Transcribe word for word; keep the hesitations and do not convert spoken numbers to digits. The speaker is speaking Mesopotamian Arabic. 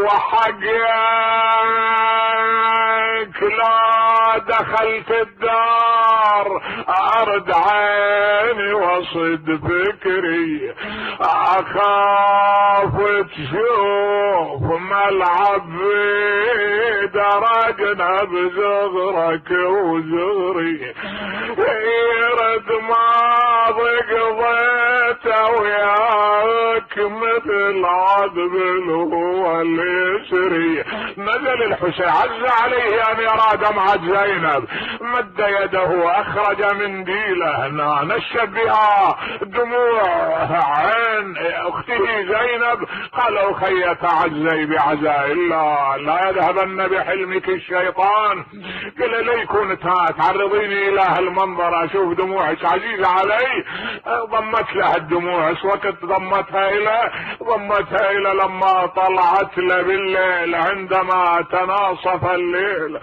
وحقك لا دخلت الدار ارد عيني وصد فكري، اخاف تشوف ملعب درجنا بزغرك وزغري، يرد ما قضيت وياك مثل عذب هو اليسري. نزل الحسين عز عليه ان يرى دمعة زينب، مد يده اخرج منديله هنا نشف بها دموع عين اخته زينب، قال اخي تعزي بعزاء الله لا يذهبن بحلمك الشيطان. قال لي كنت تعرضيني الى هالمنظر اشوف دموعك عزيزة علي. ضمت له الدموع، وقت ضمتها الى ضمتها الى لما طلعت له بالليل عندما تناصف الليل.